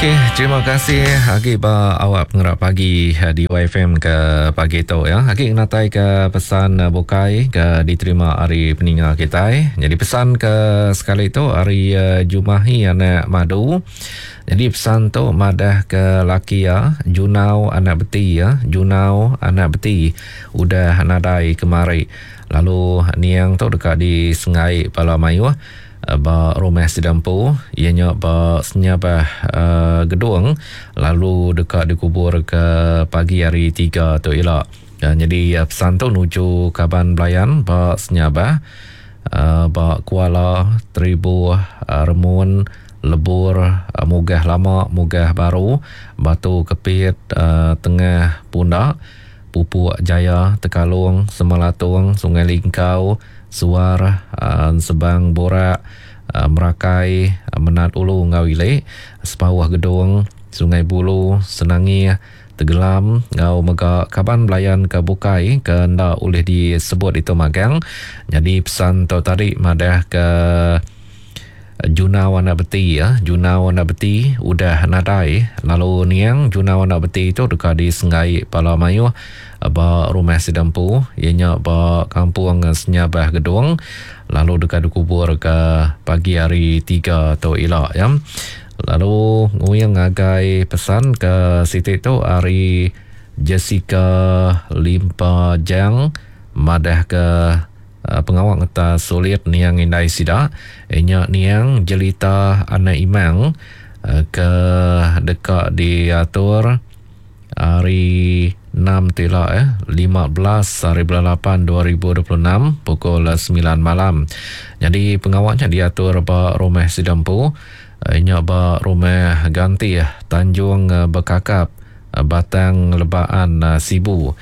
Okey, terima kasih agi ba awak pengerak pagi eh, di YFM ke pagi tu ya. Agi ngenatai ke pesan eh, bukai ke diterima ari peninga kitai. Jadi pesan ke sekali tu ari eh, Jumahi anak Madu. Jadi pesan tu madah ke laki ya Junau anak Beti ya, Junau anak Beti udah nadai kemari. Lalu niang tu deka disengai bala mayuh ba rumah sida empu iya nya ba Senyabah Gedong lalu deka dikubur ke pagi hari Tiga tu ila. Nyadi pesan tu nuju kaban belayan ba Senyabah ba Kuala Teribu Remun Lebur Mugah Lama Mugah Baru Batu Kepit Tengah Punda Pupuk Jaya Tekalong Semelatung Sungai Lingkau Suar, Ensebang Borak, Merakai, Menat Ulu enggau Ili, Sepauh Gedong, Sungai Bulu, Senangih, Tegelam enggau mega kaban belayan ke bukai ke enda ulih disebut ditu magang. Nyadi pesan tu tadi madah ke Junau anak Beti, Junau anak Beti udah nadai lalu niang Junau anak Beti tu deka disenggai bala mayuh ba rumah sida empu iya nya ba Kampung Senyabah Gedong lalu deka dikubur ke pagi hari Tiga tu ila ya. Lalu nguing ngagai pesan ke siti tu ari Jessica Limpa Jang madah ke Pengawa ngetas sulit niang indai sida iya nya niang Jelita anak Imang ke deka diatur hari enam ti ila eh 15 hari bulan lapan 2026 pukul semilan malam. Nyadi pengawa nya diatur ba rumah sida empu iya nya ba Rumah Gantih Tanjung Bekakap Batang Lebaan Sibu.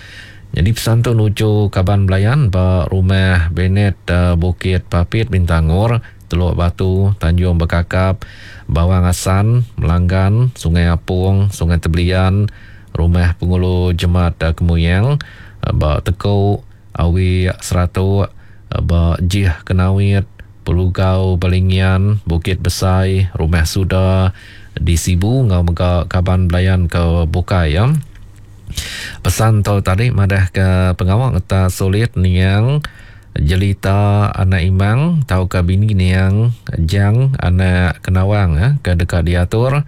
Nyadi pesan tu nuju kaban belayan ba Rumah Benet Bukit Papit Bintangor, Teluk Batu, Tanjung Bekakap, Bawang Assan, Melanggan, Sungai Apong, Sungai Tebelian, Rumah Pengulu Jemat Kemuyang, ba Teku, Awi Seratok, ba Jih Kenawit, Pelugau Balingian, Bukit Besai, Rumah Suda di Sibu enggau mega kaban belayan ke bukai. Pesan tu tadi madahka pengawa ngetas sulit niang Jelita anak Imang tauka bini niang Jang anak Kenawang ke deka diatur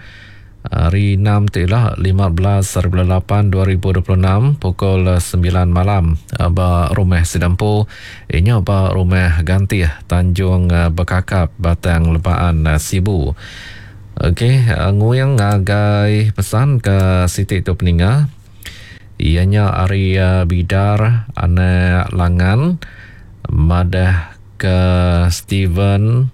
hari enam ti ila 15 hari bulan lapan 2026 pukul semilan malam ba Rumah Sida Empu iya nya ba Rumah Gantih Tanjung Bekakap Batang Lebaan Sibu. Okey, nguing ngagai pesan ke siti tu peninga. Iya nya ari Bidar anak Langan madah ke Steven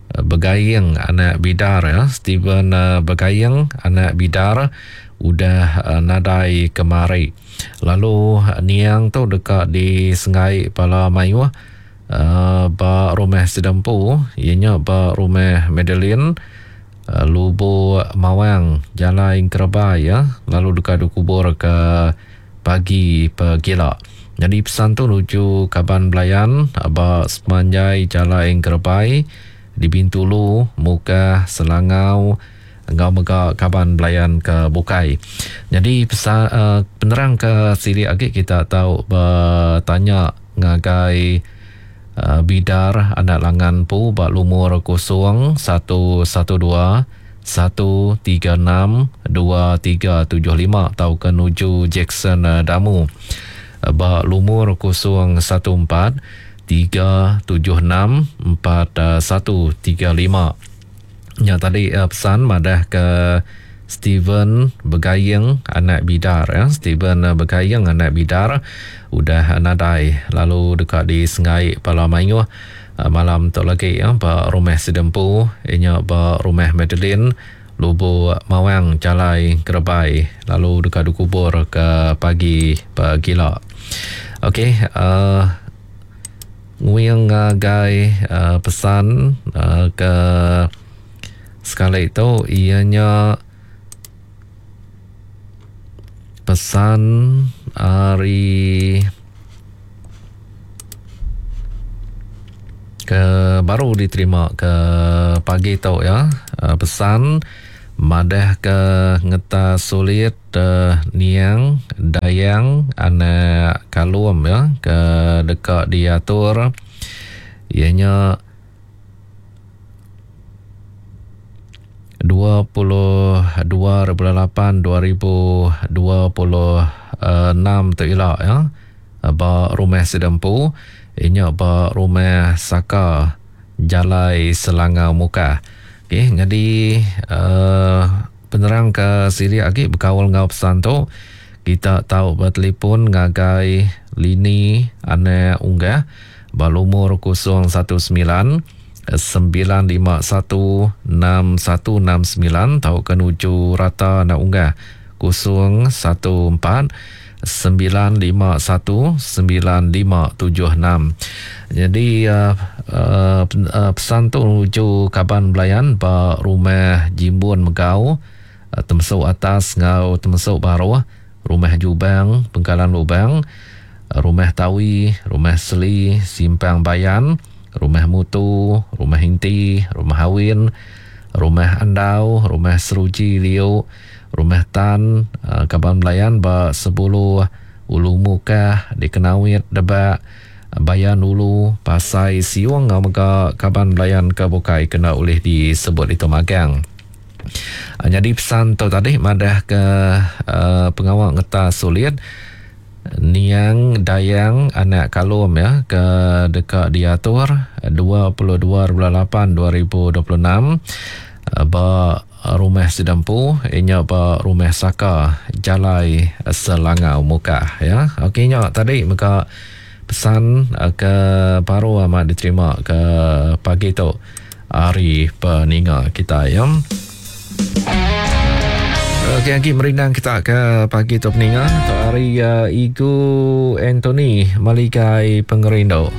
Begaing anak Bidar ya. Steven Begaing anak Bidar udah nadai kemari. Lalu niang tu deka disenggai bala mayuh Ba rumah sida empu iya nya ba rumah Madeline Lubok Mawang Jalai Engkerebai iya lalu deka dikubur ke pagi pegila. Nyadi pesan tu nuju kaban belayan ba sepemanjai Jalai Engkerebai di Bintulu, Mukah, Selangau enggau mega kaban belayan ke bukai. Nyadi pesan penerang ke silik agi kita tau betanya ngagai Bidar anak Langan empu ba lumur 0 1 1 2 1 3 6 2 3 7 5 tauka nuju Jackson Damu ba lumur 0 1 4 3 7 6 4 1 3 5. Nya tadi pesan madah ke Steven Begaing anak Bidar ya. Steven Begaing anak Bidar udah nadai lalu deka disenggai bala mayuh malam tu lagi ya ba rumah sida empu iya nya ba Rumah Madeline Lubok Mawang Jalai Kerebai lalu deka dikubur ke pagi pegila. Okey uhh nguing ngagai pesan ke sekali tu iya nya pesan ari ke baru diterima ke pagi tu ya pesan. Madah ke ngetas sulit niang Dayang anak Kalum ya ke deka diatur iya nya 22 bulan 8 2026 tu ila ya ba rumah sida empu iya nya ba rumah Saka Jalai Selangau Mukah. Okey, nyadi uhh penerang ke silik agi bekaul enggau pesan tu, kita tau betelefon ngagai Lini Anak Unggah ba lumur 019 951 6169 tauka nuju Rata Anak Unggah 014 951 9576. Nyadi pesan tu nuju kaban belayan ba Rumah Jimbun Megau, Temesuk Atas enggau Temesuk Baruh, Rumah Jubang, Pengkalan Lubang, Rumah Tawi, Rumah Seli, Simpang Bayan, Rumah Mutu, Rumah Inti, Rumah Awin, Rumah Andau, Rumah Seruji Liu, Rumah Tan, kaban belayan ba Sebulu, Ulu Mukah, di Kenawit, Debak, Bayan Ulu, Pasai Siung enggau mega kaban belayan ke bukai ke enda ulih disebut ditu magang. Nyadi pesan tu tadi madahka pengawa ngetas sulit Niang Dayang anak Kalum ya ke deka diatur 22 bulan 8 2026 ba Rumah sida empu inya ba Rumah Saka Jalai Selangau Mukah ya. Okey nya tadi mega pesan ke baru amat diterima ke pagi tu ari peninga kitai ya. Okey agi merindang kita ke pagi tu peninga tu ari uh, Igu Anthony Maligai Pengerindu.